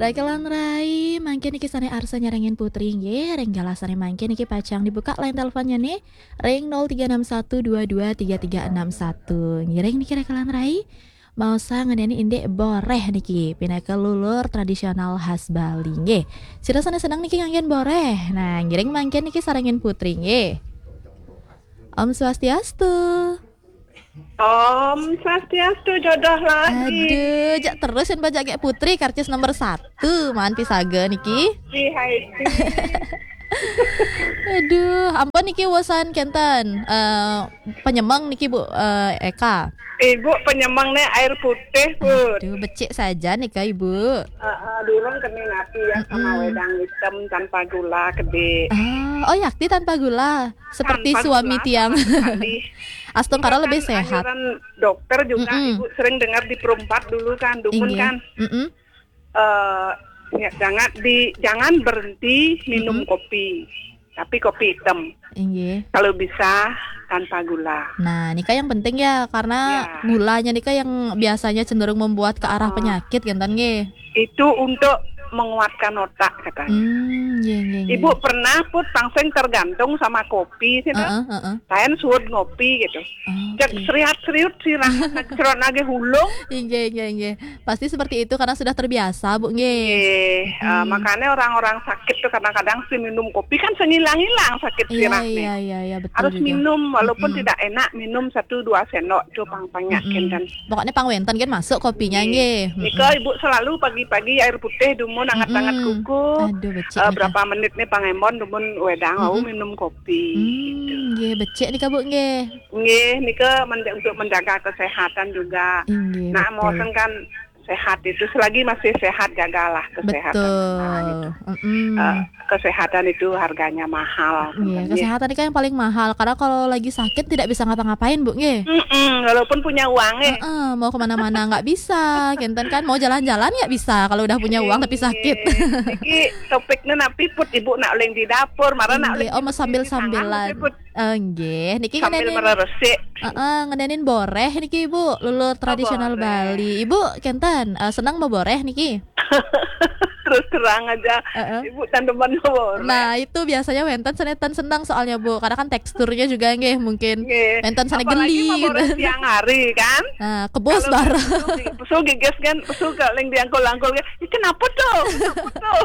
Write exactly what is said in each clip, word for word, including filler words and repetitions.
Rakelan rai, mangkin niki sané arsa nyarengin Putri nggih, ring galah sané mangkin niki pacang dibuka line teleponnya nih, ring nol tiga enam satu dua dua tiga tiga enam satu. Ngiring niki rakelan rai, maosang ngenani indik boréh niki, pinaka lulur tradisional khas Bali nggih. Sira sané seneng niki nganggén boréh. Nah, ngiring mangkin niki sarengin Putri nggih. Om Swastiastu. Om Swastiastu, jodoh lagi. Aduh, jak terus yang bajak kayak Putri, karcis nomor satu, man pisaga niki. Di hai. Aduh, ampun niki wosan kenten. Eh, penyemeng niki Bu, eh, Eka. Ibu penyemeng nih air putih, Bu. Aduh, becik saja nih Kak Ibu. Heeh, durung kena napi ya sama Mm-mm. Wedang hitam tanpa gula, gede. Ah, oh yakti tanpa gula. Seperti tanpa suami gula tiang. Sama sekali. Astungkara lebih sehat. Anjuran dokter juga, mm-mm. Ibu sering dengar di Perumpat dulu kan, dumun inggih. Kan. Mm-mm. Eh, ya, jangan di jangan berhenti minum mm-mm. Kopi. Tapi kopi hitam. Inggih. Kalau bisa tanpa gula. Nah, nika yang penting ya, karena ya. Gulanya nika yang biasanya cenderung membuat ke arah oh. Penyakit, kenten nggih. Itu untuk menguatkan otak katanya. Hmm, nggih, nggih, nggih. Ibu pernah put pangsing tergantung sama kopi sih, heeh, heeh. Lain suud ngopi gitu. Oh, cek okay. Seriat-seriut sih, serot lagi hulung. Inggih, inggih, inggih. Pasti seperti itu karena sudah terbiasa, Bu, nggih. Nggih, eh, hmm. Makanya orang-orang sakit tuh kadang-kadang sih minum kopi kan sengilang-ilang sakit iya, sirahnya. Iya, iya, iya, betul. Harus juga. Minum walaupun mm-mm. Tidak enak, minum satu dua sendok tuh pang banyak mm-mm. Kan. Pokoknya pang wenten kan masuk kopinya nggih. Nggih. Mm-mm. Nika Ibu selalu pagi-pagi air putih dumun anget-anget mm-mm. Kuku. Aduh, becik eh, nika. Berapa menit nih pang embon dumun wedang mm-mm. Mau minum kopi. Hmm, gitu. Nggih, becik nika Bu nggih. Nggih, nika menja- untuk menjaga kesehatan juga. Inggih, nah, betul. Mau kan sehat itu, selagi masih sehat, jagalah kesehatan. Betul. Nah, gitu. Mm-mm. Eh, kesehatan itu harganya mahal. Iya, kesehatan itu kan yang paling mahal. Karena kalau lagi sakit tidak bisa ngapa-ngapain, Bu, nggih. Mm-mm, walaupun punya uang, eh. Heeh, mau kemana-mana nggak bisa, kenten kan. Mau jalan-jalan nggak bisa kalau udah punya uang tapi sakit. Niki topiknya napi put Ibu nak uling di dapur, marah nak uling. Oh, mau sambil-sambilan. Nggih, niki sambil ngenenin, mereresik. Heeh, ngenenin boréh niki, Ibu. Lulur tradisional Bali. Ibu kenten, eh, seneng mau boréh niki? Terus terang aja, heeh. Ibu tan demen mau boréh. Nah, itu biasanya wenten sané tan seneng soalnya, Bu. Karena kan teksturnya juga nggih mungkin nggih. Wenten sané geli gitu. Apalagi mau boréh siang hari kan? Nah, kebus bareng. Pesu gi-, pesu giges kan, pesu kaling diangkul-angkul kan. Ih, kenapa tuh? Kenapa tuh?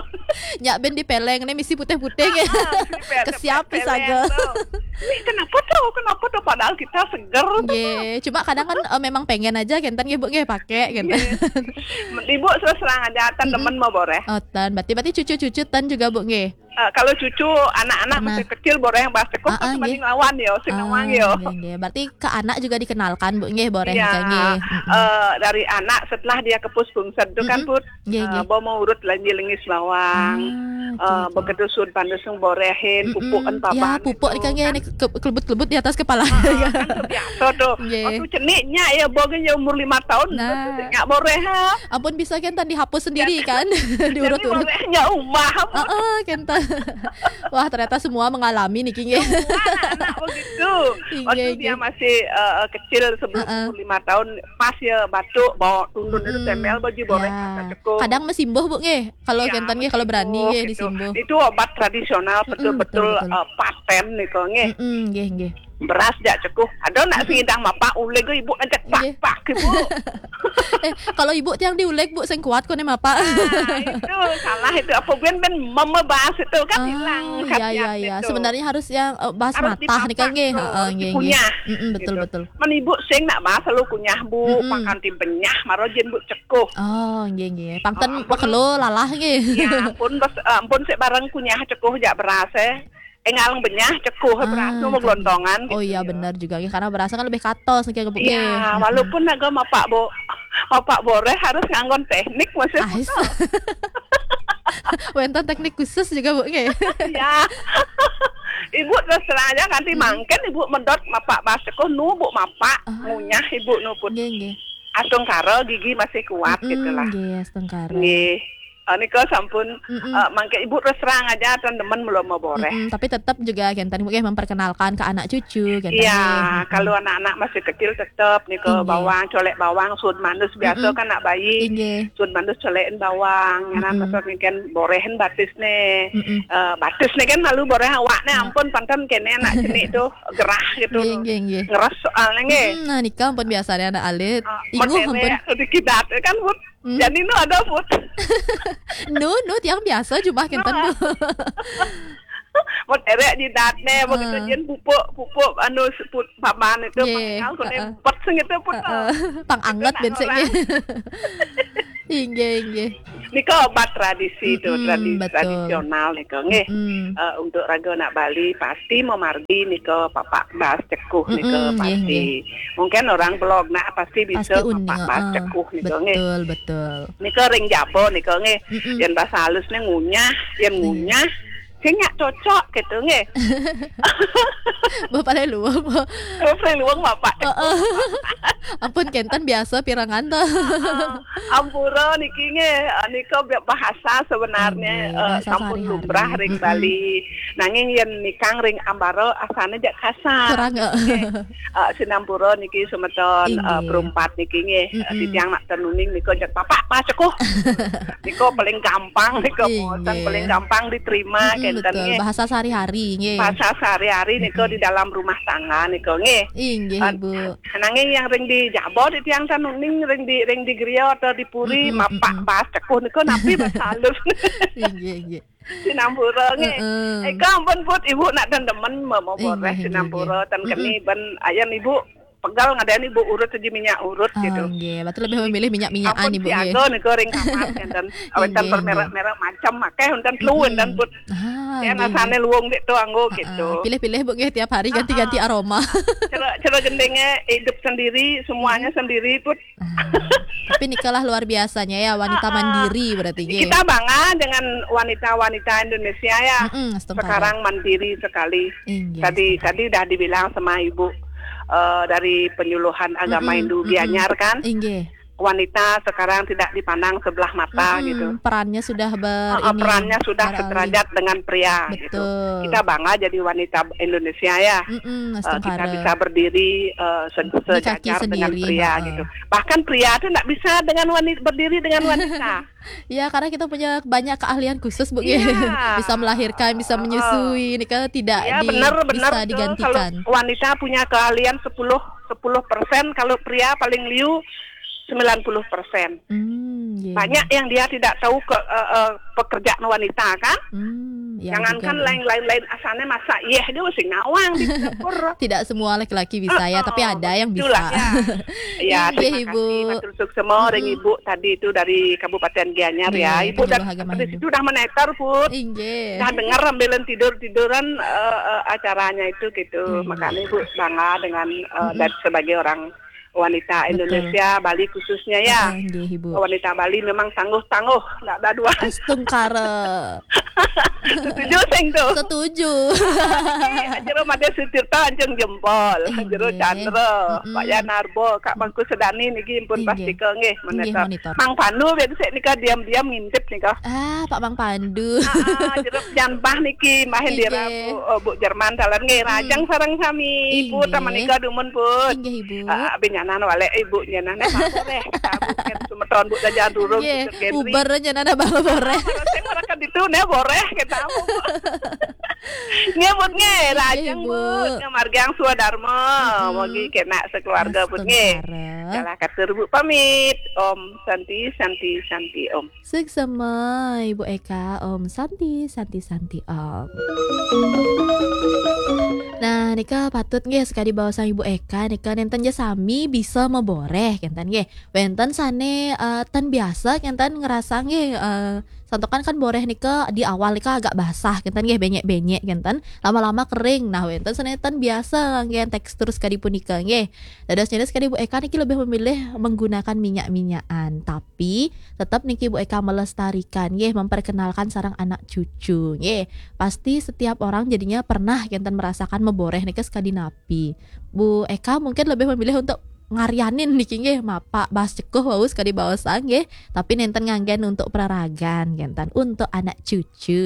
Nyak ben dipeleng nih misi putih-putih nggih. Ah, ah, misi peleng, kesiap peleng pisaga tuh. Ih, kenapa tuh? Kenapa tuh? Padahal kita seger tuh. Nggih, cuma kadang kan eh, memang pengen aja kenten nggih Bu nggih pakai kenten. Nggih. Ibu terus terang aja tan demen mau boréh. Oh, tan. Berarti berarti cucu-cucu tan juga Bu nggih. Eh, kalau cucu anak-anak masih kecil boréh yang bahas cekuh ah, ah, pasti nggih. Banding lawan ya, sing nawang ya. Nggih, nggih. Berarti ke anak juga dikenalkan Bu nggih boréh ya, nggih. Mm-mm. Eh, dari anak setelah dia kepus bungsed itu kan mm-mm. Put Nggih, eh, nggih. Bo mau urut lanji lengis bawang. Ah, eh, oke, oke. Begitu suud panas yang boréhin, mm-mm. Pupuk kan ya, papan pupuk itu, kan, kan. Ke-, kelebut-kelebut di atas kepala. Ah, kan biasa tuh. Nggih. Waktu ceniknya ya, bo kan ya umur lima tahun, nah. Itu nyak boréh, ha. Ampun bisa kan tan dihapus sendiri ya, kan? Diurut-urut. Boréhnya umah. Heeh, kan tan. Wah, ternyata semua mengalami niki nggih. Semua anak-anak begitu. Nggih, waktu nggih. Dia masih eh, kecil sebelum heeh. Umur lima tahun, pas ya batuk, bawa tundun itu mm-mm. Temel baju boréh ya. Masak cekuh. Kadang mesimbuh Bu nggih. Kalau ya, kenten nggih, kalau berani nggih gitu. Disimbuh. Itu obat tradisional mm-mm, betul-betul betul, betul. Eh, paten nih kok nggih. Mm-mm, nggih, nggih. Beras jak cekuh. Ada nak mm-mm. Sing idang mapak uleg Ibu ajak nggih. Pak-pak Ibu. Eh, kalau Ibu tiang diuleg Bu sing kuat kone mapak. Nah, itu salah itu. Apa ben ben mama bahas itu kan ah, hilang iya, iya, iya. Itu. Sebenarnya harus yang eh, bahas harus matah nih kan nggih. Heeh, nggih, nggih. Dikunyah. Mm-mm, betul, gitu. Betul. Men Ibu sing nak bahas lalu kunyah Bu, mm-mm. Makan ti benyah maro jin Bu cekuh. Oh, nggih, nggih. Pangten oh, ampun. Pekelo lalah nggih. Ya ampun, bes, ampun sik bareng kunyah cekuh jak beras eh. Engal benyah cekuh ah, beras nu gelontongan. Oh gitu, iya ya. Benar juga nggih karena beras kan lebih katos nggih Bu. Iya, nggih. Walaupun naga mapak Bu, mapak boréh harus nganggon teknik masih. Ah, putus. Wenten teknik khusus juga Bu nggih. Iya. Ibu terus terang aja nanti mm-mm. Mangkin Ibu medot mapak beras cekuh nu Bu mapak ah. Ngunyah Ibu nu pun. Nggih, nggih. Astungkara gigi masih kuat mm-mm, gitulah. Nggih, astungkara. Nggih. Ah, nika sampun, Mm-mm. ah, mangke ibu terus terang aja, tan demen mula maboreh. Mm-mm, tapi tetap juga kenten ibu nggih memperkenalkan ke anak cucu, kenten Iya, nggih. Mm-mm. Kalau anak-anak masih kecil tetap nika Inggih. Bawang, colek bawang, sun manus biasa Mm-mm. Kan nak bayi. Inggih. Sun manus colekin bawang, nyanan Mm-mm. Maksud kan borehin batisne. Mm-mm. Eh, batisne kan malu boreh awakne Nah. Ampun panten kene anak jenik tuh gerah gitu. Nggih, nggih, nggih. Ngeres soalnya nggih. Mm-mm, nah, nika ampun biasanya anak alit. Ah, inguh mengkene ampun. Sedikit dat kan, Bud. Hmm? Jadi nu ada, Bud. Nu, nu tiang biasa jumah kenten, Bu. Mut erek di datne, begitu Heeh. Jen pupuk, pupuk, anu, seput, papan itu, Nggih, pangkal, kone heeh. Pet sing itu pun, Heeh. Pang anget itu nak bensek, orang. Nggih. Inggih, inggih. Nika obat tradisi tu, Mm-mm, tradisi betul. Tradisional nika, nggih. Mm-mm. Eh, untuk raga nak Bali, pasti memargi nika papak bas cekuh nika, Mm-mm, nggih, pasti. Nggih. Mungkin orang belog nak pasti bisa pasti uning, papak bas heeh. Cekuh nika, nggih. Betul, betul. Nika ring jaba nika nggih. Mm-mm. Yen bahasa halusne ngunyah, yen Iya. Ngunyah, sing nyak cocok gitu nggih. Bapak le luwung, Bu. Bapak le luwung, Bapak. Heeh. Ampun kenten biasa pirengan to. Heeh. Ampura niki nggih, eh, nika bahasa sebenarnya, Nggih, eh, bahasa sampun sehari-hari. Lumrah ring Mm-mm. Bali. Nanging yen nikang ring ambara asane jak kasar. Kurang, eh. Nggih. Eh, sinampura niki semeton, eh, Inggih. Perumpat niki nggih. Eh, Mm-mm. Titiang nak tenuning nika jak papak bas cekuh. Nika paling gampang nika Inggih. Maosan, paling gampang diterima Mm-mm, kenten betul. Nggih. Bahasa sehari-hari nggih. Bahasa sehari-hari nika Mm-mm. Di dalam rumah tangga nika nggih. Inggih, eh, Ibu. Nanging yang ring di jaba titiang tenuning ring di, ring di griya atau di puri Mm-mm, mapak mm-mm. Bas cekuh nika napi bas halus. Inggih, inggih. Sinampura nggih. Heeh. Eka ampun Put, Ibu nak tan demen me-, meboreh. Inggih, inggih, sinampura inggih. Tan keni Mm-mm. Ben ayan Ibu pegal ngadani Ibu urut aja minyak urut. Ah, gitu. Nggih, betul lebih memilih minyak-minyakan ampun Ibu nggih. Siaga nika ring kamar kenten. Awetan inggih, bermerek-merek macam akeh wonten telu inggih. Wonten Put. Ah, ya nggih, nasane nggih. Luwung dek tu anggo. Heeh. Gitu. Pilih-pilih Bu nggih tiap hari ganti-ganti aroma. Heeh. Cara, cara gendenge hidup sendiri, semuanya sendiri Put. Ah, tapi nikalah luar biasanya ya, wanita mandiri berarti, nggih. Kita bangga dengan wanita-wanita Indonesia ya. Mm-mm, sekarang mandiri sekali. Inggih, tadi, tadi dah dibilang sama Ibu, eh, dari penyuluhan agama Hindu Gianyar kan. Inggih. Wanita sekarang tidak dipandang sebelah mata gitu. Perannya sudah ber-, ini, perannya sudah beralih. Sederajat dengan pria gitu. Betul. Kita bangga jadi wanita Indonesia ya. Mm-mm, eh, kita bisa berdiri, eh, se-, sejajar dengan pria gitu. Di kaki sendiri, heeh. Bahkan pria tuh nggak bisa dengan wanita, berdiri dengan wanita. Ya, karena kita punya banyak keahlian khusus, Bu. Iya. Bisa melahirkan, bisa menyusui. Ini kan tidak bisa digantikan. Iya, benar, benar, betul. Kalau wanita punya keahlian sepuluh, sepuluh persen, kalau pria paling liu sembilan puluh persen. Hmm, iya. Banyak yang dia tidak tahu ke, eh, eh, pekerjaan wanita kan. Hmm, ya. Jangankan juga, lain-lain, lain asane masak, yeh dia mesti ngawang di dapur. Tidak semua laki-laki bisa ya, tapi ada yang bisa. Heeh, betul lah, ya. Ya, inggih, terima kasih, Ibu. Matur suksema ring Ibu tadi itu dari Kabupaten Gianyar ya. Inggih, Ibu penyuluh agama Hindu. Sudah meneter, Put. Inggih. Dah dengar sambilan tidur-tiduran, eh, eh, acaranya itu gitu. Inggih. Makanya Ibu bangga dengan, eh, dan sebagai orang wanita Indonesia, Bali khususnya ya. Heeh, nggih, Ibu. Wanita Bali memang tangguh-tangguh, ndak ada dua. Astungkara. Setuju sing tu. Setuju. Jero Made Sutirta anjung jempol. Inggih. Jero Chandra, Pak Yanarbo, Kak Mangku Sedani niki pun pasti ke nggih, monitor. Inggih, monitor. Mang Pandu biasa nika diam-diam ngintip nika. Ah, Pak Mang Pandu. Ah, ah, jero Jan Bah niki, mahin dira Bu, eh, Bu Jerman talan nggih, rajang sareng sami. Inggih. Put, taman nika dumun, Put. Inggih, Ibu. Ah, abin nyanan walek Ibu nyanan, eh, Bang Boreh. Kita Bu, kan, semeton Bu Jajan Durung, nggih, Bu Gendri. Uber nyanan Bang Boreh. Ah, sing mereka ditu ne Boreh kita Bu. Nggih, Put, nggih, inggih, rajang, Ibu. Put, nggih, margiang swadarma. Mugi kena sekeluarga, Put, nggih. Astungkara. Jalah katur Bu pamit. Om Santi, Santi, Santi, Om. Suksema, Ibu Eka, Om Santi, Santi, Santi, Om. Nah, nika patut nggih sekadi baosan Ibu Eka, nika nenten ja sami bisa maboreh, kenten nggih. Wenten sane, eh, tan biasa, kenten ngerasa nggih, eh, santokan kan boreh nika di awal nika agak basah, kenten nggih, benyek-benyek, kenten. Lama-lama kering. Nah, wenten sane tan biasa nggih tekstur sekadi punika nggih. Dados nyenes sekadi Ibu Eka niki lebih memilih menggunakan minyak-minyakan. Tapi tetap niki Bu Eka melestarikan, nggih, memperkenalkan sareng anak cucu, nggih. Pasti setiap orang jadinya pernah kenten merasakan maboreh nika sekadi napi. Bu Eka mungkin lebih memilih untuk ngaryanin niki nggih, mapa bas cekuh wau sekadi baosang nggih, tapi nenten nganggen untuk peraragan, kenten untuk anak cucu.